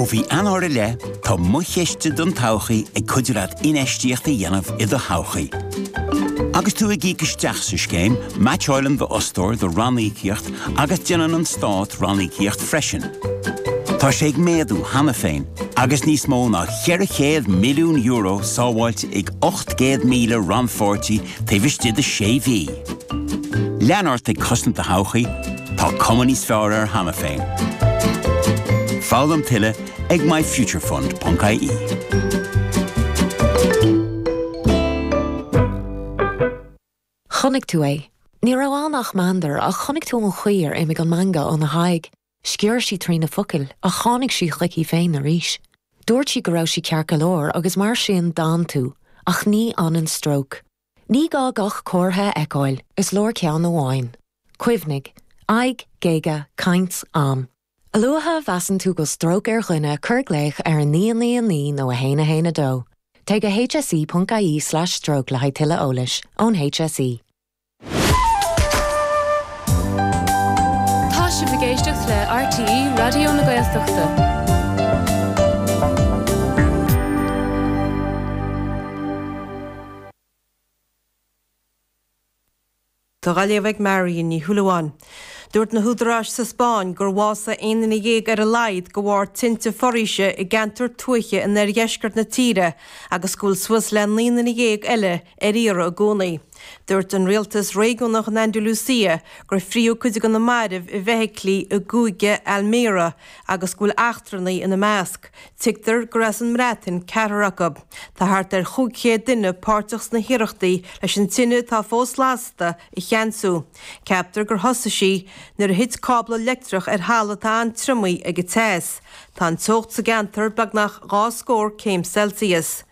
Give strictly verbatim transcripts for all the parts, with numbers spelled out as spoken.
Ó mhí Eanáir i leith tá Mo Chiste don Todhchaí ag cuidiú leat infheistíocht a dhéanamh i do thodhchaí. Agus tú ag íoc isteach sa scéim, meaitseálann d'fhostóir do ranníocaíocht agus déanann an stát ranníocaíocht freisin. Tá sé ag méadú cheana féin, agus níos mó ná ceithre chéad milliún euro sábháilte ag ocht gcéad míle rannpháirtí taobh istigh de sé mhí. Lean ort ag cosaint do thodhchaí, tá cuma níos fearr air cheana féin. Foghlaim tuilleadh ag myfuturefund.ie. Chonaic tú é. Ní raibh ann ach meandar ach chonaic tú an chaoi ar imigh an meangadh óna haghaidh. Sciorr sí trí na focail ach tháinig sí chuici féin arís. Dúirt sí go raibh sí ceart go leor agus mar sin d'fhan tú, ach ní fhanann stróc. Ní gá gach comhartha a fheiceáil, is leor ceann amháin. Cuimhnigh, aghaidh, géaga, caint, am. A luaithe a mheasann tú go bhfuil stróc ar dhuine cuir glaoch ar a naoi naoi naoi nó a haon a haon a dó. Téigh go hse.ie slash stroke le haghaidh tuilleadh eolais ón HSE. Tá sibh ag éisteacht le RTÉ Raidió na Gaeltachta. Tá á léamh ag Marion Ní Shúilleabháin. Dúirt na húdaráis sa Spáinn gur bhásaigh aon duine dhéag ar a laghad de bharr tinte foraoise i gceantar tuaithe in oirdheisceart na tíre agus go bhfuil suas le naoi nduine dhéag eile ar iarraidh i gcónaí. Dúirt an rialtas réigiúnach in Andalusia gur fríodh cuid de na mairbh i bhfeithiclí i gcúige Almería agus go bhfuil eachtrannaigh ina measc. Tuigtear gur as an mBreatain ceathrar acu. Tá thart ar chúig chéad duine páirteach sna hiarrachtaí leis an tine atá fós lasta a cheansú. Ceaptar gur thosaigh sí nuair a thit cábla leictreach ar thalamh atá an-triomaithe ag an teas. Tá an teocht sa gceantar beagnach dhá scór céim Celsius.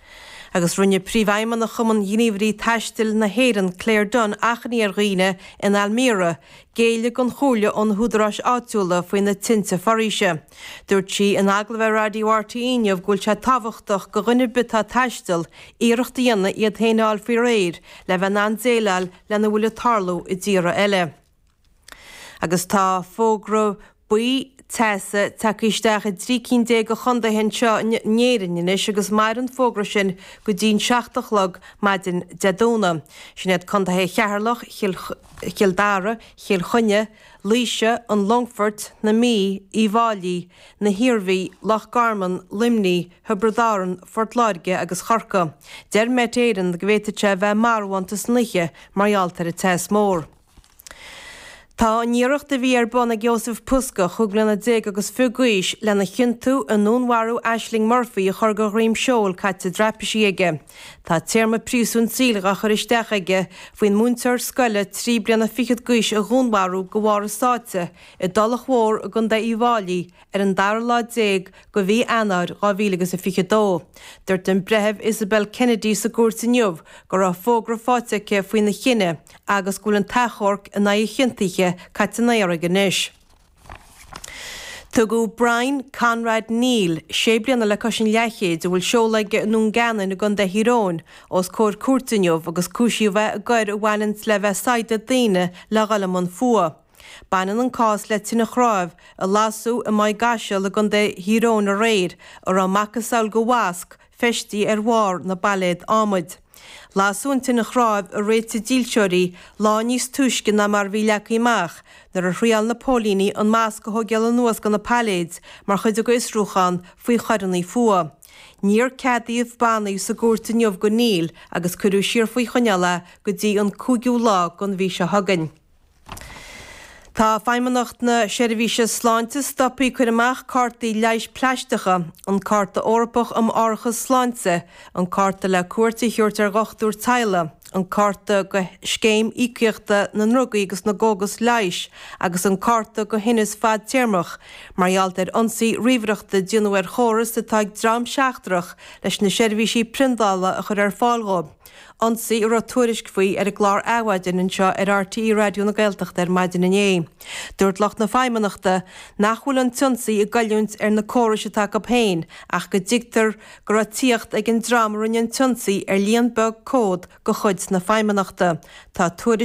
Agus rinne Príomhfheidhmeannach Chumann Ghníomhairí Taistil na hÉireann, Claire Dunne, achainí ar dhaoine in Almería géilleadh don chomhairle ó na húdaráis áitiúla faoi na tinte foraoise. Dúirt sí in agallamh ar Raidió RTÉ inniu go bhfuil sé tábhachtach do dhuine ar bith atá ag taisteal iarracht a dhéanamh iad féin a fháil faoi réir le bheith in ann déileáil lena bhfuil ag tarlú i dtíortha eile. Agus tá fógra buí teasa tagtha isteach i dtrí cinn déag de chontaetha anseo in Éirinn anois agus mairfidh an fógra sin go dtí'n seacht a chlog maidin Dé Domhnaigh. Sin iad contaetha Cheatharlach, Chill Dara, Chill Chainnigh, Laoise, an Longfoirt, na Mí, Uíbh Fháilí, na hIarmhí, Loch Garman, Luimnigh, Thiobraid Árann, Phort Láirge agus Chorcaigh. Deir Met Éireann go bhféadfadh sé a bheith marbhánta san oíche mar gheall ar an teas mór. Tá an iarracht a bhí ar bun ag Jozef Puska, chúig bliana déag agus fiche d'aois, lena chiontú i ndúnmharú Ashling Murphy a chur de dhroim seoil caite i dtraipisí aige. Tá téarma príosúin saoil á chur isteach aige faoin múinteoir scoile trí bliana fichead d'aois a dhúnmharú de bharr a sáite i dTulach Mhór i gContae Uíbh Fháilí ar an dara lá déag de mhí Eanáir dhá mhíle agus a fiche dó. Dúirt an Breitheamh Isabel Kennedy sa gcúirt inniu go raibh fógra faighte aici faoina chinneadh agus go bhfuil an t-achomharc in aghaidh a chiontaithe caite in aer aige anois. Tugadh Brian Conrad Neal, sé bliana le cois an leathchéid, a bhfuil seoladh aige i nDún Geanainn i gContae Thír Eoghain, os comhair cúirte inniu agus cúisíodh é i gcoir a bhaineanns le bheith ag saighdeadh daoine le dhul i mbun fuath. Baineann an cás le tine chnámh a lasadh i Maigh gCaiseal i gContae Thír Eoghain aréir, a raibh macasamhail de mhasc feistithe ar bharr na bpailléad adhmaid. Lasadh an tine chnámh a réitigh dílseoirí lá níos túisce ná mar a bhí leagtha amach nuair a thriáil na póilíní an masc a thógáil anuas de na pailléid mar chuid dá bhfiosrúchán faoi choireanna fuatha. Níor ceadaíodh bannaí sa gcúirt inniu do Neal agus cuireadh siar faoi choinneáil é go dtí an cúigiú lá den mhí seo chugainn. Tá Feidhmeannacht na Seirbhíse Sláinte stoptha ag cur amach cártaí leighis plaisteacha, an Cárta Eorpach um Árachas Sláinte, an cárta le cuairt a thabhairt ar dhochtúir teaghlaigh, an cárta do Scéim Íocaíochta na nDrugaí agus na gCógas Leighis agus an cárta do thinneas fadtéarmach, mar gheall ar ionsaí ríomhaireachta a déanadh ar chóras atá ag dream seachtrach leis na seirbhísí priondála a chur ar fáil dhóibh. Ionsaí a raibh tuairisc faoi ar an gclár Adhmhaidin anseo ar RTÉ Raidió na Gaeltachta ar maidin inné. Dúirt lucht na Feidhmeannachta nach bhfuil an t-ionsaí ag goilliúint ar na córais atá acu féin ach go dtuigtear go raibh tíocht ag an dream a rinne an t-ionsaí ar líon beag comhad de chuid na Feidhmeannachta. Tá tuairisc.